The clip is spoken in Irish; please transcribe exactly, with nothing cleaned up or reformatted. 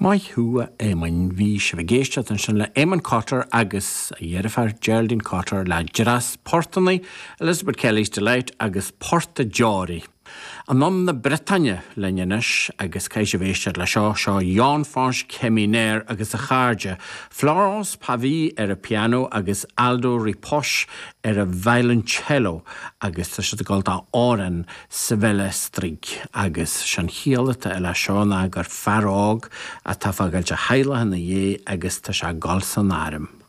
Maith thú a Éamoinn bhí sibh ag éisteacht ansin le Eamon Cotter agus a dheirfiúr Geraldine Cotter le Dreas Portanna, Elizabeth Kelly's Delight agus Port a Deoraí. Anonn na Briotáine linn anois agus caithfidh sibh éisteacht le seo seo Yann-Fañch Kemener agus a chairde, Florence Pavie ar an piano agus Aldo Ripoche ar an violoncello agus tá siad ag gabháil d'amhrán sa Bhelestraig agus sin chiall atá le seo ná gur fear óg atá fágáilt a theaghlach ina dhiaidh agus tá sé ag dul san arm.